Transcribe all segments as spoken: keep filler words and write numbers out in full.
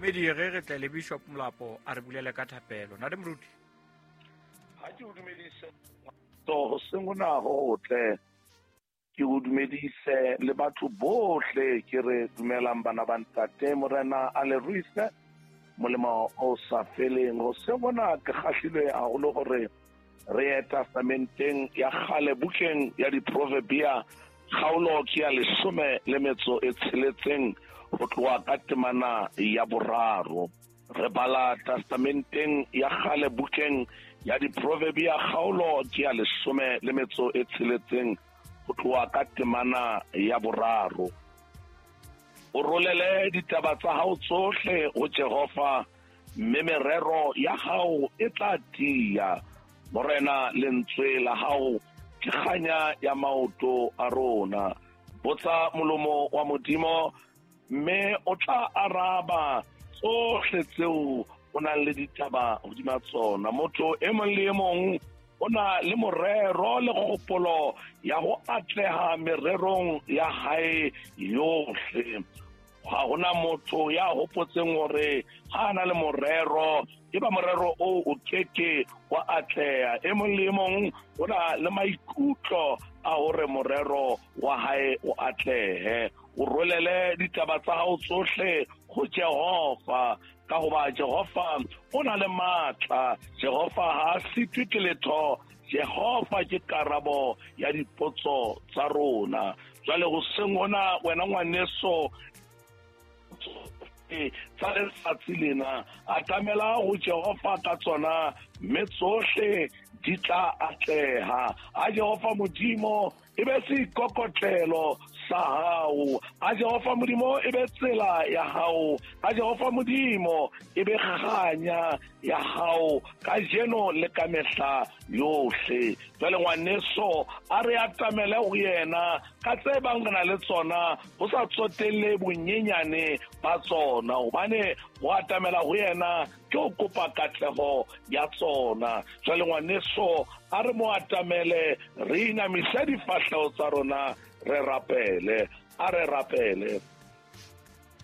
Mamedi re re tle le Bishop Molapo a re bulele ka thapelo. Ntate Moruti. Ha ke o dumedise to hoseng hona ho tle ke o dumedise le batho bohle ke re dumelang bana ba ntate Morena a le ruise molemo o sa feleng. Hoseng hona ke kgahlilwe haholo hore re ye testamenteng ya kgale bukeng ya diproverbia kgaolo ke ya leshome le metso e tsheletseng ho tloha ka temana ya boraro. Re bala testamenteng ya kgale bukeng ya diproverbia kgaolo ke ya leshome le metso e tsheletseng ho tloha ka temana ya boraro. O rolele ditaba tsa hao tsohle ho Jehova, mme merero ya hao e tla tiya. Morena, lentswe la hao ke kganya ya maoto a rona. Botsa molomo wa Modimo, mme o tla araba tsohle tseo o nang le ditaba hodima tsona. Motho e mong le e mong o na le morero le kgopolo ya ho atleha mererong ya hae yohle. Ha hona motho ya hopotseng hore ha ana le morero, e ba morero o o keke wa atleha. E mong le e mong o na le maikutlo a hore morero wa hae o atlehe. O rolele ditaba tsa hao tsohle ho Jehova, ka hoba Jehova o na le matla. Jehova ha a sitwe ke letho. Jehova ke karabo ya dipotso tsa rona. Jwale hoseng hona wena ngwaneso tsa letsatsi lena, atamela ho Jehova ka tsona, mme tsohle di tla atleha. A Jehova Modimo e be seikokotlelo sa hao. A Jehova Modimo e be tsela ya hao. A Jehova Modimo e be kganya ya hao kajeno le ka mehla yohle. Jwale ngwaneso, a re atamele ho yena ka tse bang re na le tsona, ho sa tsotelle bonyenyane ba tsona, hobane ho atamela ho yena ke ho kopa katleho ya tsona. Jwale ngwaneso, a re mo atamele, re inamise difahleho tsa rona, re rapele. A re rapele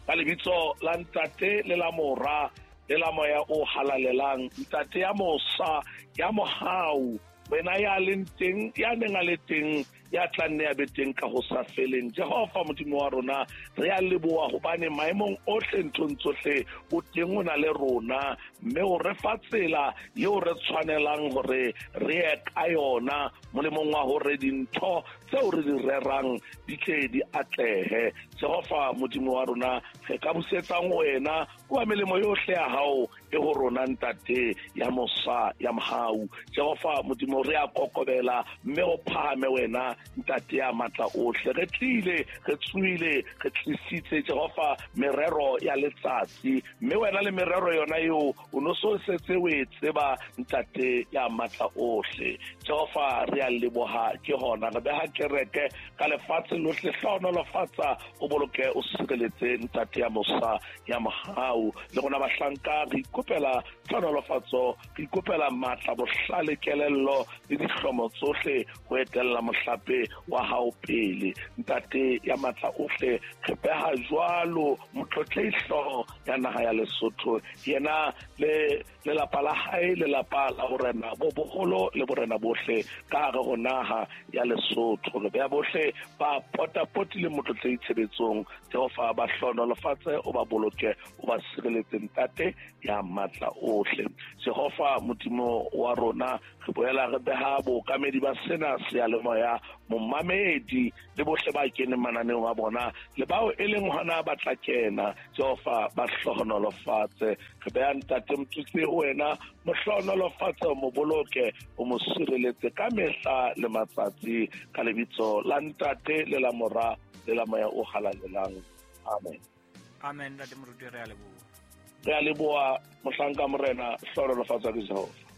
ka lebitso la Ntate le la Mora le la Moya o Halalelang. Ntate ya mosa, ya mohau, wena ya leng teng, ya neng a le teng, ya tla nne ya be teng ka ho sa feleng. Jehova Modimo wa rona, re a leboha hobane maemong ohle, nthong tsohle, o teng, o na le rona, mme o re fa tsela eo re tshwanelang hore re ye ka yona, molemong wa hore dintho tseo re di rerang di tle di atlehe. Jehova Modimo wa rona, re ka busetsang wena kwa melemo yohle ya hao e ho rona, Ntate ya mosa, ya mohau. Jehova Modimo, re a kokobela, mme o phahame wena, Ntate ya matla ohle. Re tlile, re tsoile, re tlisitse Jehova merero ya letsatsi, mme wena le merero yona eo o no so setse o e tseba, Ntate ya matla ohle. Jehova, re a leboha ke hona re beha kereke ka lefatshe lohle. Hlohonolofatsa, o boloke, o sireletse, Ntate ya mosa, ya mohau. Le rona bahlanka re ikopela tlhonolofatso, re ikopela matla, bohlale, kelello le dihlomo tsohle ho etella mohlape wa hao pele. Ntate ya matla ohle, re beha jwalo motlotlehi ya naha ya Lesotho, yena le lelapa la hae, lelapa la borena bo boholo le borena bohle ka hare ho naha ya Lesotho. Re beha bohle ba potapotile motlotlehi tshebetsong. Jehova, ba hlohonolofatse, o ba boloke, o ba sireletse, Ntate ya matla ohle. Jehova Modimo wa rona, re boela re beha bookamedi ba sena seyalemoya, momamedi le bohle ba keneng mananeong a bona le bao e leng hona ba tla kena. Jehova, ba hlohonolofatse. Re beha Ntate Motutsi ho wena, mo hlohonolofatse, o mo boloke, o mo sireletse ka mehla le matsatsi, ka lebitso la Ntate le la Mora le la Moya o Halalelang. Amen. Amen. Ntate Moruti, re a leboha. Re a leboha, mohlanka Morena. Hlohonolofatswa ke Jehova.